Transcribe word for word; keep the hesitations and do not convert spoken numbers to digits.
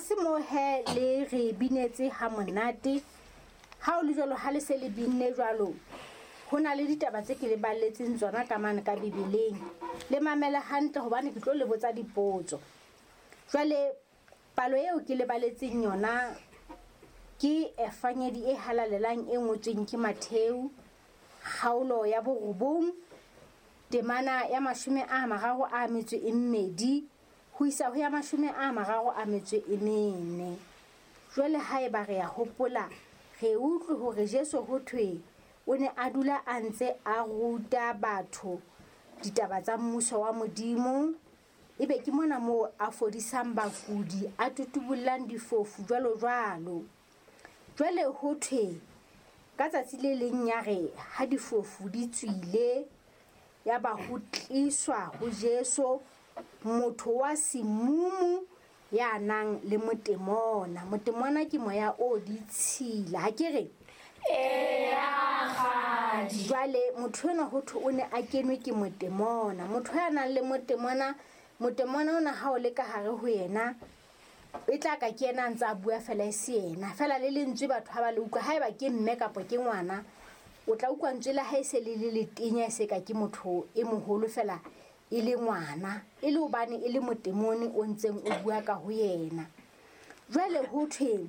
Tlase moo he le re binetse ha monate. Ha o le jwalo, ha le se le binne jwalo, ho na le ditaba tse ke le balletseng tsona ka mane ka Bibeleng. Le mamele hantle hobane ke tlo le botsa dipotso. Jwale palo eo ke le baletseng yona ke Evangedi e halalelang e ngotsweng ke Mattheu, kgaolo ya borobong, temana ya mashome a mararo a metso e mmedi ho isa ho ya mashome a mararo a metso e mene. Jwale haeba re ya hopola, re utlwe hore Jesu ho thwe o ne a dula a ntse a ruta batho ditaba tsa mmuso wa Modimo. Ebe ke mona moo a fodisang bakudi, a tutubollang difofu jwalo jwalo. Jwale ho thwe ka tsatsi le leng ya re ha difofu di tswile, ya ba ho tliswa ho Jesu motho wa semumu ya nang le motemona. Motemona ke moya o ditshila, ha ke re? Eya, kgadi. Jwale motho enwa ho thwe o ne a kenwe ke motemona. Motho ya nang le motemona, motemona ona ha o le ka hare ho yena, e tla ka ke yena a ntse a bua fela e se yena. Fela le lentswe batho ha ba le utlwa, haeba ke mme kapa ke ngwana, o tla utlwa ntswe la hae se le le letenya, e se ka ke motho e moholo fela e le ngwana, e le hobane e le motemone o ntseng o bua ka ho yena. Jwale ho thwe